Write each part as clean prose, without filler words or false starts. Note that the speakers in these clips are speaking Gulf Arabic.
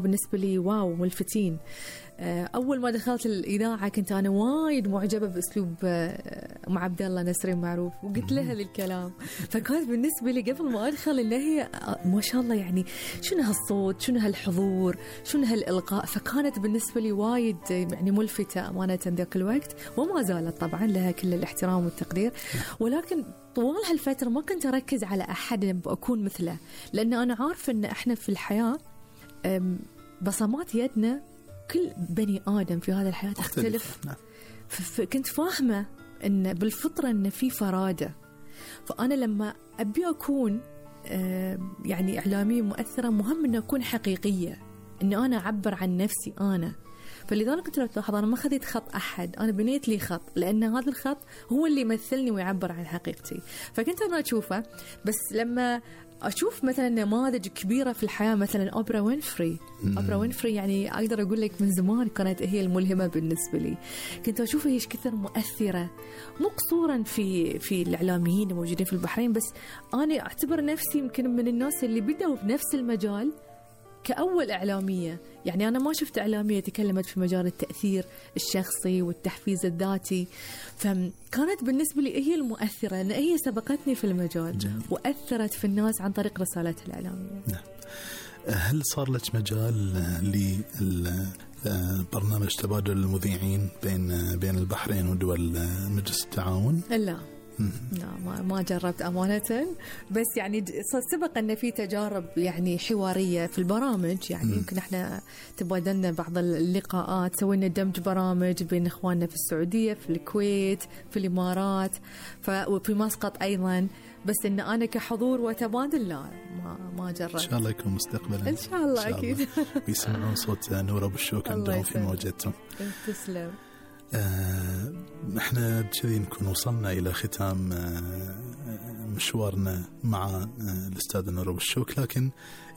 بالنسبة لي واو ملفتين. أول ما دخلت الإذاعة كنت أنا وايد معجبة بأسلوب أم عبد الله نسرين معروف، وقلت لها الكلام، فكانت بالنسبة لي قبل ما أدخل إن هي ما شاء الله يعني شنو هالصوت، شنو هالحضور، شنو هالإلقاء، فكانت بالنسبة لي وايد يعني ملفتة أمانة ذاك الوقت، وما زالت طبعا لها كل الاحترام والتقدير. ولكن طوال هالفترة ما كنت أركز على أحد أكون مثله، لأن أنا عارفة إن إحنا في الحياة بصمات يدنا كل بني آدم في هذا الحياة تختلف. كنت فاهمة إن بالفطرة إن في فرادة، فأنا لما أبي أكون يعني إعلامية مؤثرة مهم إن أكون حقيقية، إن أنا أعبر عن نفسي أنا. فلذلك كنت لو تلاحظ أنا ما خذيت خط أحد، أنا بنيت لي خط، لأن هذا الخط هو اللي يمثلني ويعبر عن حقيقتي. فكنت أنا أشوفه، بس لما أشوف مثلا نماذج كبيرة في الحياة مثلا أوبرا وينفري. أوبرا وينفري يعني أقدر أقول لك من زمان كانت هي الملهمة بالنسبة لي. كنت أشوفها إيش كثر مؤثرة، مو قصورا في الإعلاميين الموجودين في البحرين، بس أنا أعتبر نفسي يمكن من الناس اللي بدأوا بنفس المجال كأول إعلامية. يعني أنا ما شفت إعلامية تكلمت في مجال التأثير الشخصي والتحفيز الذاتي، فكانت بالنسبة لي هي المؤثرة، لأن هي سبقتني في المجال وأثرت في الناس عن طريق رسالتها الإعلامية. هل صار لك مجال لبرنامج تبادل المذيعين بين البحرين ودول مجلس التعاون؟ لا ما جربت أمانة، بس يعني سبق أن في تجارب يعني حوارية في البرامج، يعني يمكن احنا تبادلنا بعض اللقاءات، سوينا دمج برامج بين إخواننا في السعودية، في الكويت، في الإمارات، وفي مسقط أيضا، بس إن أنا كحضور وتبادل لا ما جربت. إن شاء الله يكون مستقبلا. إن شاء الله أكيد. ويسمعون صوت نور أبو الشوك عندهم في مواجهتهم. تسلم. احنا بكذي نكون وصلنا إلى ختام مشوارنا مع الأستاذ نور أبو الشوك، لكن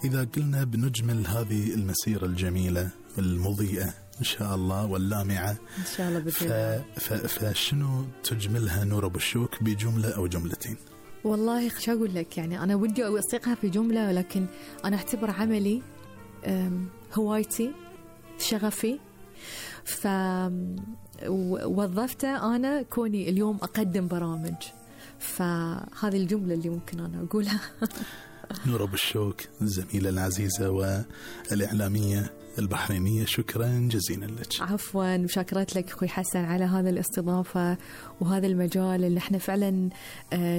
إذا قلنا بنجمل هذه المسيرة الجميلة المضيئة إن شاء الله واللامعة إن شاء الله بكذا، فشنو تجملها نور أبو الشوك بجملة أو جملتين؟ والله شو أقول لك، يعني أنا ودي أوثقها في جملة، ولكن أنا أعتبر عملي هوايتي شغفي، ووظفته أنا كوني اليوم أقدم برامج، فهذه الجملة اللي ممكن أنا أقولها. نور أبو الشوك الزميلة العزيزة والإعلامية البحرينية، شكرا جزيلا لك. عفوا، وشكرت لك أخوي حسن على هذا الاستضافة وهذا المجال اللي احنا فعلا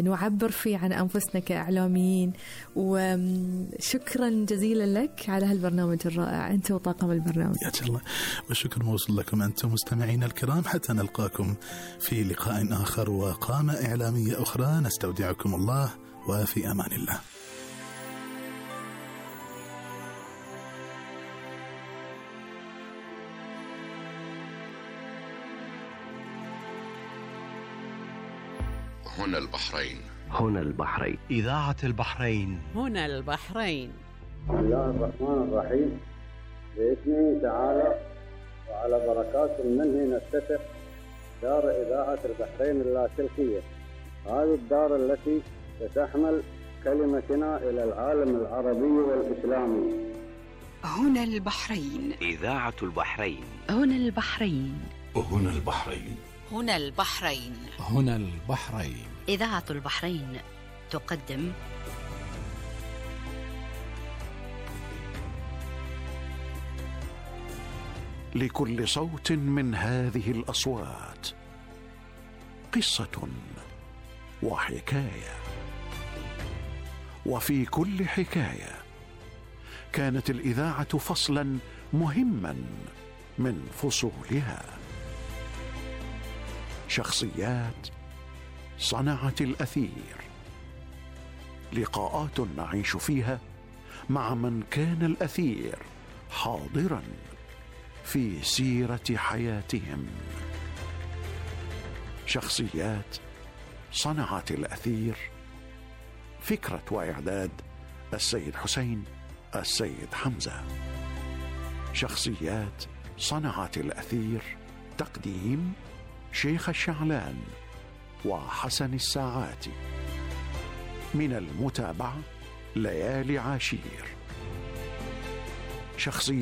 نعبر فيه عن أنفسنا كإعلاميين، وشكرا جزيلا لك على هالبرنامج الرائع أنت وطاقم البرنامج. يا الله، والشكر موصول لكم أنتم مستمعين الكرام، حتى نلقاكم في لقاء آخر وقامة إعلامية أخرى، نستودعكم الله وفي أمان الله. هنا البحرين، هنا البحرين، إذاعة البحرين، هنا البحرين. بسم الله الرحمن الرحيم. بإذنه تعالى وعلى بركات منه نفتتح دار إذاعة البحرين اللاسلكية، هذه الدار التي ستحمل كلمتنا إلى العالم العربي والإسلامي. هنا البحرين، إذاعة البحرين، هنا البحرين، هنا البحرين، هنا البحرين، هنا البحرين. إذاعة البحرين تقدم لكل صوت من هذه الأصوات قصة وحكاية، وفي كل حكاية كانت الإذاعة فصلا مهما من فصولها. شخصيات صنعت الأثير، لقاءات نعيش فيها مع من كان الأثير حاضرا في سيرة حياتهم. شخصيات صنعت الأثير، فكرة وإعداد السيد حسين السيد حمزة. شخصيات صنعت الأثير، تقديم شيخ الشعلان وحسن الساعاتي. من المتابعة ليالي عاشير. شخصيات